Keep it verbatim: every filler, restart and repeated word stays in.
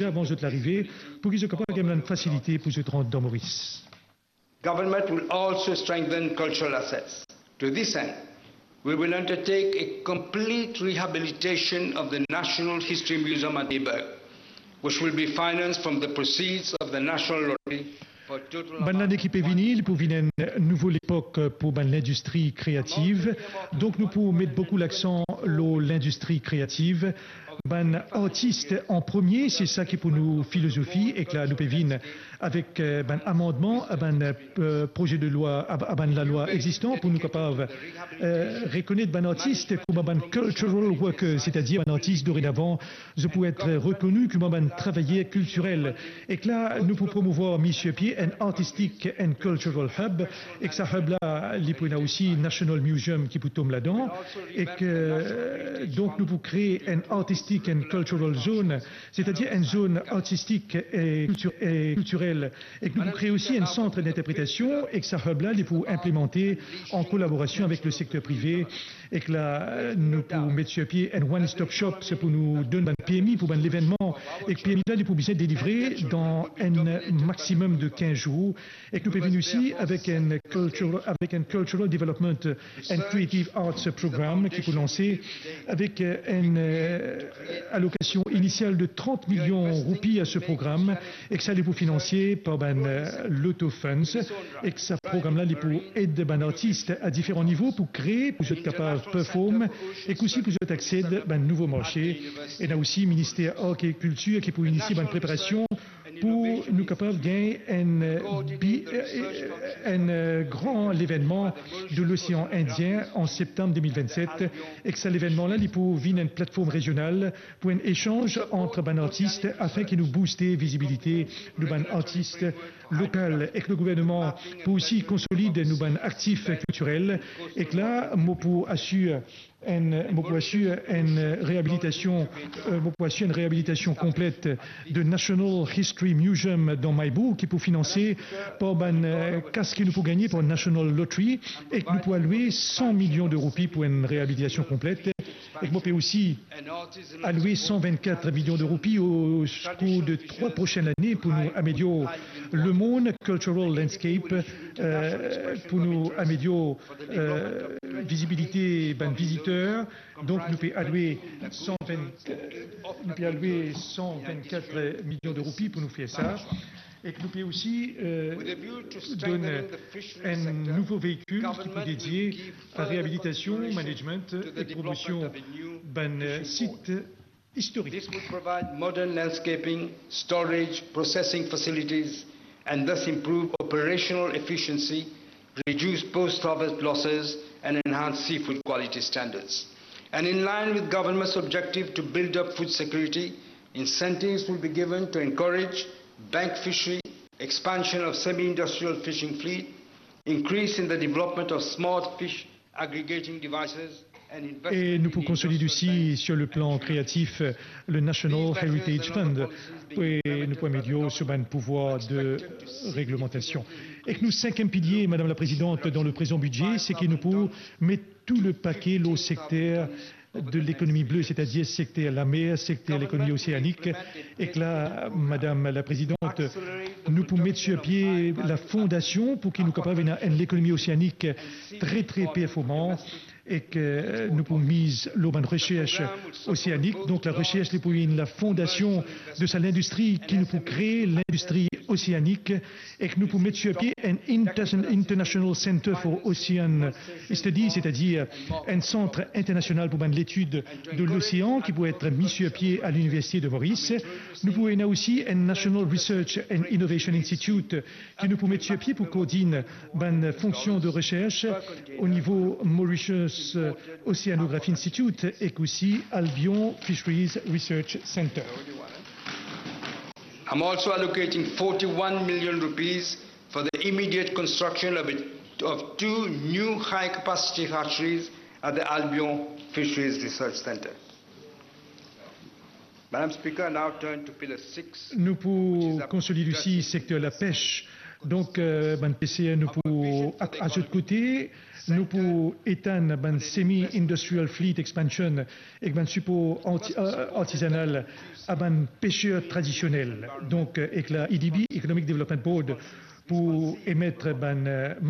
avan zot larive, pou ki zot kapav gagn bann fasilite pou zot rant dan Moris. Government will also strengthen cultural assets. To this end, we will undertake a complete rehabilitation of the National History Museum at Taberg, which will be financed from the proceeds of the National Lottery for total Bann lane ki pe vini, li pou vinn enn nouvo lepok pou bann lindistri kreativ. Donk nou pou met boukou laksan lor lindistri kreativ. Bann artis an premie, se sa ki pou nou filozofi, ek la nou pe vinn avek, eh, bann amandman a bann, eh, proze de lwa, a, a bann lalwa egzistan pou nou kapav, eh, rekonet bann artis kouma bann cultural workers, setadir bann artis dorenavan zot pou et rekoni kouma bann travayer kiltirel. Ek la nou pou promouvwar, met sir pie enn artistic and cultural hub. Ek sa hub la, li pou ena osi National Museum ki pou tom ladan. Ek, eh, donk nou pou kree enn artistic and cultural zone, setadir enn zone artistik e kiltir-, e kiltirel. Ek nou pou kree osi enn sant d'interpretasion, ek sa hub la, li pou inplimante an kolaborasion avek le sekter prive. Ek la, nou pou met sir pie enn one-stop shop, se pou nou donn bann permi pou bann levennman. Ek permi la, li pou bizin delivre dan enn maximum de kinz zour. Ek nou pe vinn osi avek enn cultural, avek enn cultural development and creative arts program ki pou lanse avek, eh, enn, eh, alokasion inisial de trant milion roupi a se program, ek sa li pou finanse par bann, eh, Lotto Funds. Ek sa program la, li pou ed bann artis a diferan nivo pou kree, pou zot kapav perform, ek osi pou zot aksed bann nouvo marse. Ena osi Minister Art e Kiltir ki pou inisie bann preparasion pou nou kapav gagn enn, eh, bi-, eh, enn, eh, gran levennman de Losean Indien an septam de mil vennset. Ek sa levennman la, li pou vinn enn platform rezional pou enn esanz ant bann artis, afin ki nou bouste vizibilite nou bann artis lokal. Ek le gouverneman pou osi konsolid nou bann aktif kiltirel. Ek la, mo pou asir enn, mo pou asir enn reabilitasion, eh, mo pou asir enn reabilitasion konplet de National History Museum dan Maybou, ki pou finanse par bann, eh, kas ki nou pou gagne par National Lottery, ek nou pou aloue san milion de roupi pou enn reabilitasion konplet. Ek mo pe osi aloue san vennkat milion de roupi o kour de trwa prosenn lane pou nou amelior le mond cultural landscape, eh, pou nou amelior, eh, vizibilite bann viziter. Donk nou pe aloue san vinn, nou pe aloue san vennkat milion de roupi pou nou fer sa. Ek nou pe osi, eh, donn enn nouvo veikil ki pou dedie a reabilitasion, management ek promosion bann, eh, sit istorik. This would provide modern landscaping, storage, processing facilities, and thus improve operational efficiency, reduce post-harvest losses, and enhance seafood quality standards. And in line with government's objective to build up food security, incentives will be given to encourage bank fishery, expansion of semi-industrial fishing fleet, increase in the development of smart fish aggregating devices, and investment in industrial bank. E nou pou konsolid osi, sur le plan kreatif, le National Heritage Fund. E nou pou amelior so bann pouvwar de reglemantasion. Ek nou sinkiem pilie, Madam la Prezidant, dan le prezan bidze, se ki nou pou met tou le pake lor sekter de lekonomi ble, setadir sekter lamer, sekter lekonomi oseanik. Ek la, Madam la Prezidant, nou pou met sur pie la fondasion pou ki nou kapav ena enn lekonomi oseanik tre, tre performan, ek nou pou miz lor bann resers oseanik. Donk, la resers, li pou vinn la fondasion de sa lindistri ki nou pou kree, lindistri oseanik, ek nou pou met sur pie enn inter-, International Center for Ocean Studies, setadir enn sant internasional pou bann letid de losean ki pou et mi sur pie a Liniversite de Moris. Nou pou ena osi enn National Research and Innovation Institute ki nou pou met sur pie pou koordinn bann fonksion de resers o nivo Mauritius Oceanography Institute ek osi Albion Fisheries Research Centre. I'm also allocating forty-one million rupees for the immediate construction of, a, of two new high-capacity hatcheries at the Albion Fisheries Research Centre. Madam Speaker, I now turn to Pillar six, which is a... Nou pou konsolid osi sekter lapes Donk, euh, bann peser, nou pou, a, a zot kote, nou pou etann bann semi-industrial fleet expansion ek bann sipor arti-, euh, artizanal a bann peser tradisionel. Donk, euh, ek la E D B, Economic Development Board, pou emet bann, euh,